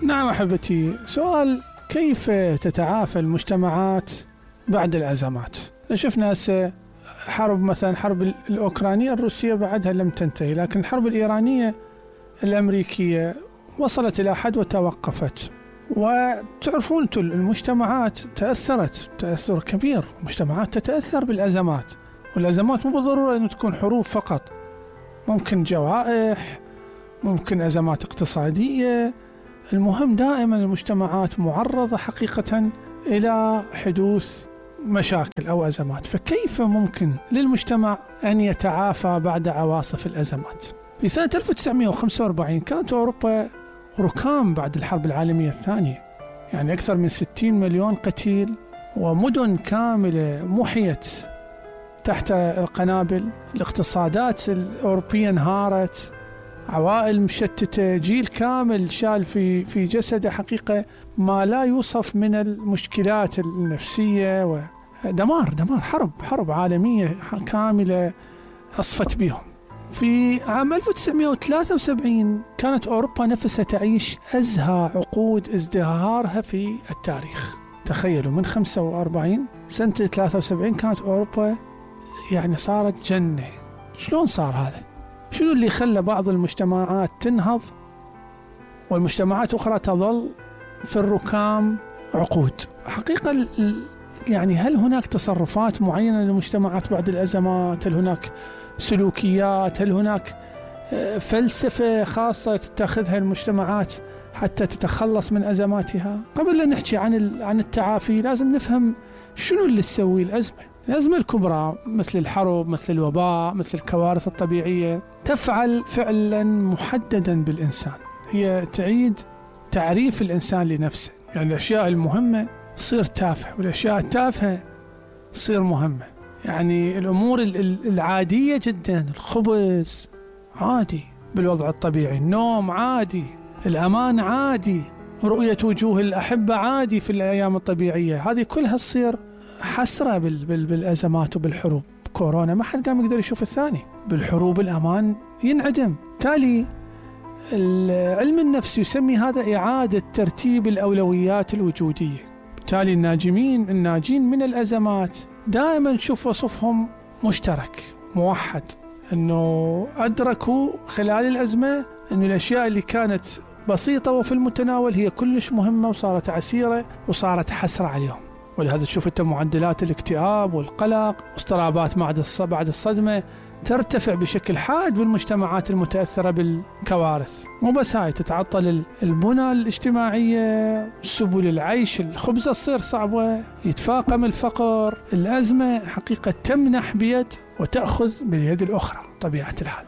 نعم أحبتي، سؤال: كيف تتعافى المجتمعات بعد الأزمات؟ شفنا هسه حرب، مثلا حرب الأوكرانية الروسية بعدها لم تنتهي، لكن الحرب الإيرانية الأمريكية وصلت إلى حد وتوقفت. وتعرفون المجتمعات تأثرت تأثر كبير، المجتمعات تتأثر بالأزمات، والأزمات مو بالضرورة أن تكون حروب فقط، ممكن جوائح، ممكن أزمات اقتصادية. المهم دائما المجتمعات معرضة حقيقة إلى حدوث مشاكل أو أزمات. فكيف ممكن للمجتمع أن يتعافى بعد عواصف الأزمات؟ في سنة 1945 كانت أوروبا ركام بعد الحرب العالمية الثانية، يعني أكثر من 60 مليون قتيل، ومدن كاملة محيت تحت القنابل، الاقتصادات الأوروبية انهارت، عوائل مشتتة، جيل كامل شال في جسده حقيقة ما لا يوصف من المشكلات النفسية، ودمار حرب عالمية كاملة أصفت بهم. في عام 1973 كانت أوروبا نفسها تعيش أزهى عقود ازدهارها في التاريخ. تخيلوا، من 45 سنة 73 كانت أوروبا يعني صارت جنة. شلون صار هذا؟ شنو اللي خلى بعض المجتمعات تنهض والمجتمعات أخرى تظل في الركام عقود؟ حقيقة يعني هل هناك تصرفات معينة للمجتمعات بعد الأزمات؟ هل هناك سلوكيات؟ هل هناك فلسفة خاصة تتخذها المجتمعات حتى تتخلص من أزماتها؟ قبل لا نحكي عن التعافي لازم نفهم شنو اللي تسوي الأزمة الكبرى مثل الحرب، مثل الوباء، مثل الكوارث الطبيعية، تفعل فعلا محددا بالإنسان. هي تعيد تعريف الإنسان لنفسه، يعني الأشياء المهمة تصير تافهة والأشياء التافهة تصير مهمة. يعني الأمور العادية جدا، الخبز عادي بالوضع الطبيعي، النوم عادي، الأمان عادي، رؤية وجوه الأحبة عادي في الأيام الطبيعية. هذه كلها تصير حسرة بالأزمات وبالحروب. كورونا ما حد قام يقدر يشوف الثاني، بالحروب الأمان ينعدم. تالي العلم النفس يسمي هذا إعادة ترتيب الأولويات الوجودية. بالتالي الناجين من الأزمات دائما نشوف وصفهم مشترك موحد، أنه أدركوا خلال الأزمة أن الأشياء اللي كانت بسيطة وفي المتناول هي كلش مهمة وصارت عسيرة وصارت حسرة عليهم. ولهذا تشوف أنت معدلات الاكتئاب والقلق واضطرابات بعد الصدمة ترتفع بشكل حاد بالمجتمعات المتأثرة بالكوارث. مو بس هاي، تتعطل البنى الاجتماعية، سبل العيش، الخبزة تصير صعبة، يتفاقم الفقر. الأزمة حقيقة تمنح بيد وتأخذ باليد الأخرى طبيعة الحال.